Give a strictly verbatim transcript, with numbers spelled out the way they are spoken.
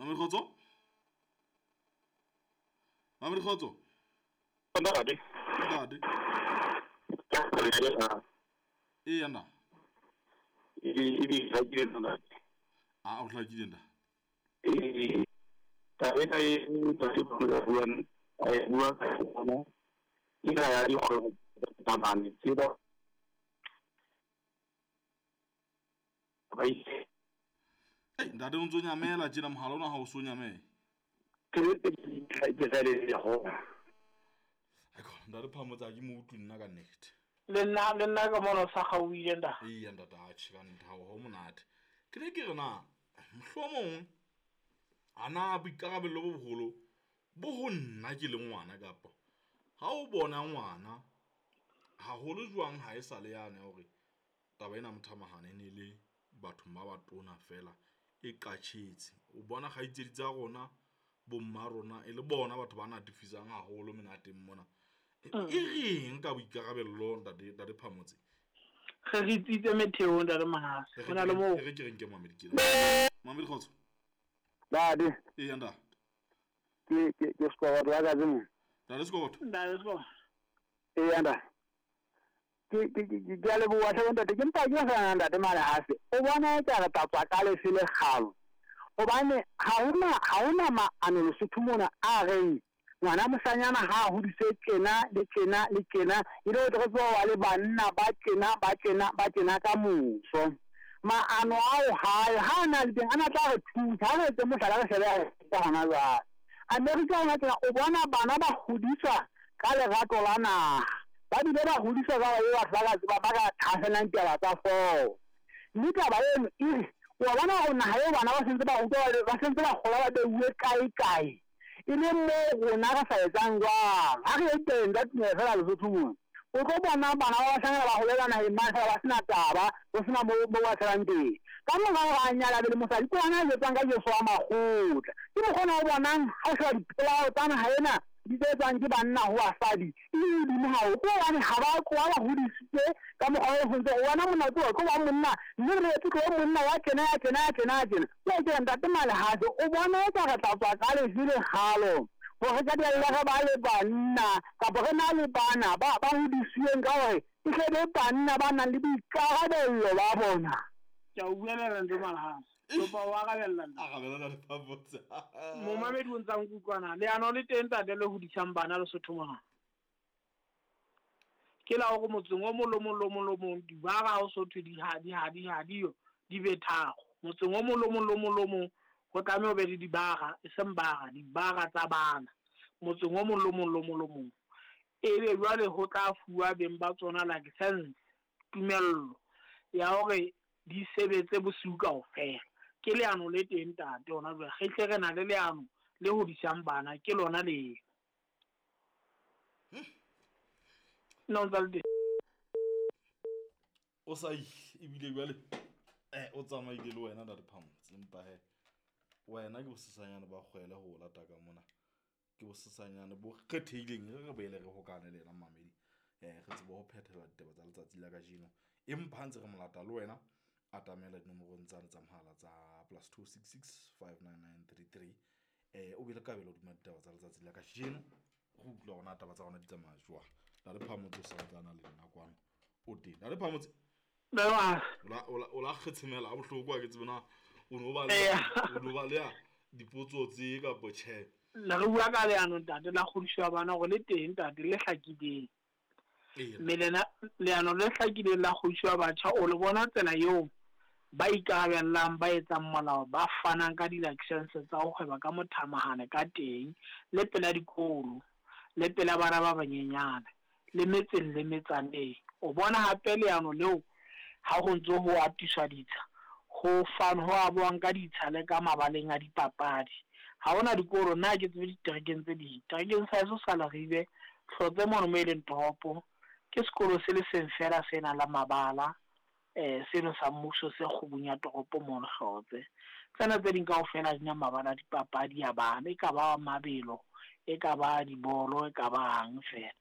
Mamedi Kgotso, Mamedi Kgotso. Ntate. Ntate. Eya nna. E hlakile ntate. A o hlakile ntate. Eh, taba ena e ntate ba buang, a e bua ka yona. Ena ya dikgwebo tsa bane tse ba ba ise. Ei, ntate o ntso nyamela tjena, mohala ona ha o so nyamela. Ke ke ke sa le le ho. Aiko, ntate Phamotse ha ke mo utlwe nna ka nnete. Le nna, le nna ka mono sa gauile nda. Eya ntate, atjhe ka nnete ha ho monate. Ke ne ke re na mohlomong a na boikarabello bo boholo bo ho nna ke le ngwana, kapa ha o bona ngwana haholo jwang ha e sa le yane hore taba ena mothamahane e ne le bathong ba batona fela e qatjhetse. O bona kgaitsedi tsa rona, bomma rona e le bona batho ba natefisang haholo menateng mona. E reng ka boikarabello ntate, ntate Phamotse? Re re tsitse metheong ntate Mahase. Ho na le moo. Re ke re nke Mamedi ke. Mamedi Kgotso. Ntate. Eya ntate. Ke ke ke Sekoboto ya ka tsena. Ntate Sekoboto. Ntate Sekoboto. Eya ntate. Ke ke ke ke a leboha hle ntate, ke mpa ke sa ntate Malehase. O bona e ka re tla tswa ka lefe le kgalo. Hobane ha hona ha hona maano Lesotho mona a reng ngwana moshanyana ha a hodise tjena le tjena le tjena, e le hore re tswa wa le banna ba tjena ba tjena ba tjena ka moso. Maano ao hae ha na le teng ana tla re thusa ha re etse mohlala re shebe ya hona jwale. Amerika hona tjena o bona bana ba hodiswa ka lerato la naha, ba bile ba hodiswa ka ba batho ba ka tseba ba ka thahasellang taba tsa foo. Mme taba eno e re wa bona hore naha eo bana ba sentse ba rutwa, ba sentse ba kgola ba beuwe kae kae, e le moo rona re sa etsang jwang. Ha re ye teng ka tumelo fela Lesotho mona, o tlo bona bana ba bashanyana ba holela naheng mane fela ba sena taba, ho sena moo moo ba tshelang teng. Ka mora hore a nyala be le mosadi, ke hona a jwetsang ka Jesu wa makgotla. Ke mokgwa ona o bonang ha o sheba dipolao tsa naha ena di tse etswang ke banna ho basadi, e hodimo haholo. Ke hobane ha ba tloha ba hodisitswe ka mokgwa o sentse o bona monna ke tlo ba monna, mme re etse tlo monna wa tjena ya tjena ya tjena ya tjena. Ke ke ntate Malehase, o bona e ka re tla tswa ka lefe le kgalo hore ka dialla re ba le banna kapa re na le bana ba ba hodisitsweng ka hore e tle be banna ba nang le boikarabello ba bona. Ke a o buela ntate Malehase. Kopa o arabella nna. Arabella ntate Phamotse. Momamedi o ntsa nkutlwana. Leano le teng ntate le hodisang bana Lesotho mona. Ke la hore motseng o mong le mong le mong le mong dibara ha o so thwe di ha di ha di ha di yo di be tharo. Motseng o mong le mong le mong le mong ho tlameha ho be le dibara, e seng bara, dibara tsa bana. Motseng o mong le mong le mong le mong. Ebe jwale ho tla fuwa beng ba tsona license, tumello ya hore di sebetse bosiu kaofela. Ke leano le teng ntate hona jwale. Re tle re na le leano le hodisang bana, ke lona leo. Nna o ntsa le teng. O sa ebile jwale eh o tsamaile le wena ntate Phamotse, empa he wena ke bosesanyane ba kgwele ho lata ka mona. Ke bosesanyane bo kgethehileng, re re boele re hokane le yena Mamedi. Eh re tsebe ho phethela ditaba tsa letsatsi la kajeno. Empa ha ntse re mo lata le wena atamela dinomorong tsane tsa mohala tsa plus two six six five nine nine three three. Eh o be le kabelo hodima ditaba tsa letsatsi la kajeno. Go utlwa hore na taba tsa rona di tsamaya jwang. Ntate Phamotse o sa ntsana le nna kwano o teng. Ntate Phamotse. Nna o la o la kgetshemela ha bohloko ha ke tsebe na o no ba le o no ba le ya dipotso tse kapa tjhe. Le re bua ka leano ntate la kgodiso ya bana hore le teng ntate le hlakileng. Mme lena leano le hlakileng la kgodiso ya batjha o le bona tsela eo ba ikarabellang, ba etsang molao, ba fanang ka di-license tsa ho kgweba ka mothamahane ka teng, le pela dikolo, le pela bana ba banyenyane, le metseng le metsaneng. O bona hape leano leo ha ho ntso ho atiswa ditsha, ho fan ho abuang ka ditsha le ka mabaleng a dipapadi. Ha hona dikolo, nna ke tsebe diterekeng tse ding. Terekeng sa heso sa Leribe, Hlotse mono mo e leng toropo, ke sekolo se le seng fela se nang le mabala, eh seno sa mmuso se kgubung ya toropo mono Hlotse. Tsena tse ding kaofela di na mabala a dipapadi a bana, e ka ba mabelo, e ka ba dibolo, e ka bang fela.